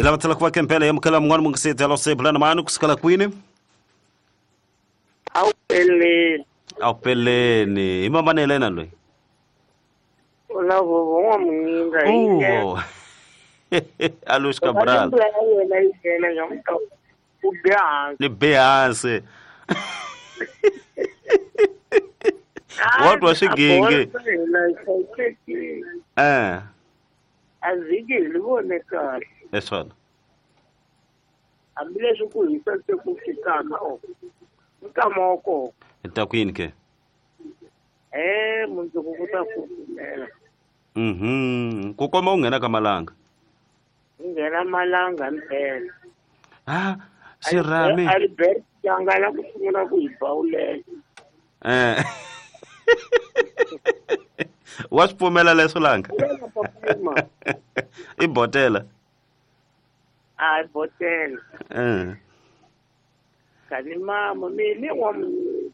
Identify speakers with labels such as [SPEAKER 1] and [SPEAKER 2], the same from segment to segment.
[SPEAKER 1] Hi lava tlhela ku va kempela ya mukhala mun'wana mungiseti alo se bulana mani kusukela kwini?
[SPEAKER 2] A wu peleni.
[SPEAKER 1] A wu peleni. Hi mambanele na loyi.
[SPEAKER 2] U na vovo n'wamuninga hi
[SPEAKER 1] Oh. Alois Cabral.
[SPEAKER 2] ya wena yi nghena nyamuta u be hansi.
[SPEAKER 1] Ni be hansi. Wa twa xigenge. Eh.
[SPEAKER 2] A vhiki hi li vone kahle.
[SPEAKER 1] Leswona.
[SPEAKER 2] Hambileswi ku hisa se ku fikaka o. Nkama wa kona.
[SPEAKER 1] Hi ta ku yini ke?
[SPEAKER 2] Mundzuku ku ta kufumela.
[SPEAKER 1] Ku komba u nghena ka malanga.
[SPEAKER 2] U nghena malanga mpela.
[SPEAKER 1] Ah, xirhami.
[SPEAKER 2] Albert Changala ku sungula ku hi bawulela.
[SPEAKER 1] Wa swi pfumela leswo langa? I botela.
[SPEAKER 2] A i botela. Kani mama mi n'wamunhu.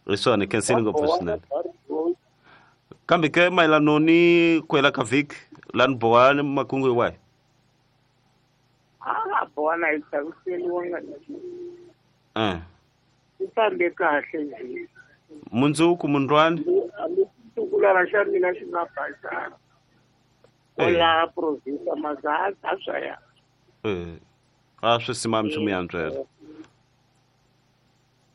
[SPEAKER 1] Hi swona khensini ngopfu swinene. Kambe ke mayelano ni ku hela ka vhiki lani bohani makungu hi wahi?
[SPEAKER 2] A bohana hi chaviseriwanga. Ku fambe kahle nje.
[SPEAKER 1] Mundzuku mundlwani?
[SPEAKER 2] Hambi xitukulwana xa mina xi nga basanga. Kwala province Mazatha swa ya.
[SPEAKER 1] A swi simami nchumu ya ntswela.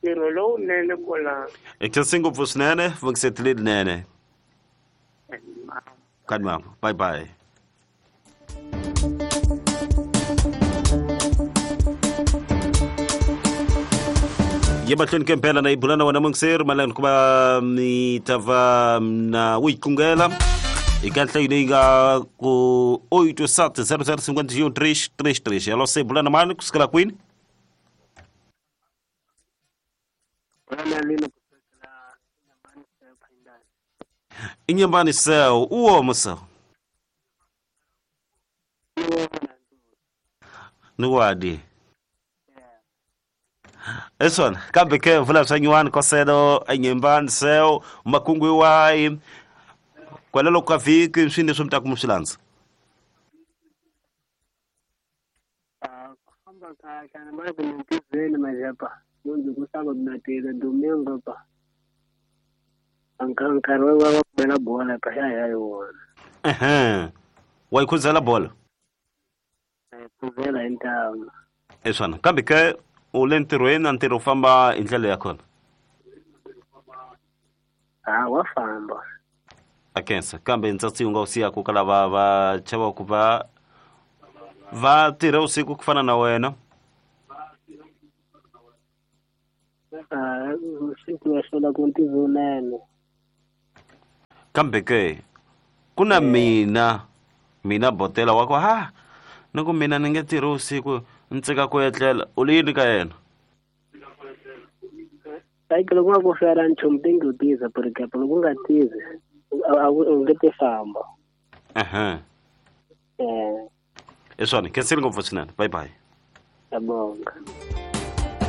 [SPEAKER 2] Ntirho lowunene kwala.
[SPEAKER 1] Hi khensi ngopfu swinene, vungiseti lerinene. Kani mama, bye bye. Ye mahlweni ke mpela na yi bula na wena mungiseri mayelana ku va mi ta va na u yi tlungela eka nhlayo leyi nga ku 87 00 51 3 3 3. Alo se bula na mani kusukela kwini? Inyambani seo uomo seo ni wadi esona kambe ke vula swa nyuwani koselo enyembani seo makungu iwayi kwalelo ka vhiki swi leswi mi ta ku mi swi landza.
[SPEAKER 3] Famba kahle na mali kumintizeni majapa mundu kusaba mnatela domingo pa nkarhi wa bela bola pa ya ya wona.
[SPEAKER 1] Wa yi khuzela bola?
[SPEAKER 3] Khuzela intamu.
[SPEAKER 1] Eswana kambe ke u le ntirhweni na ntirho u famba hi ndlela ya kona?
[SPEAKER 3] Wa famba.
[SPEAKER 1] A khensa kambe ntsatsi u nga wu siyaka ka lava va chavaka va va tirha usiku ku fana na wena?
[SPEAKER 3] Usiku ya sola ku ntirho.
[SPEAKER 1] Kambe ke ku na mina botela wa ku ha ni ku mina ni nge tirhi usiku ni tsika ku etlela u le yini ka yena?
[SPEAKER 3] Like loko nga ku fela nchumu ti nge tiza por example loko nga tizi u nge ti famba.
[SPEAKER 1] Eswona khensini ngopfu swinene. Bye bye.
[SPEAKER 3] Ngiyabonga.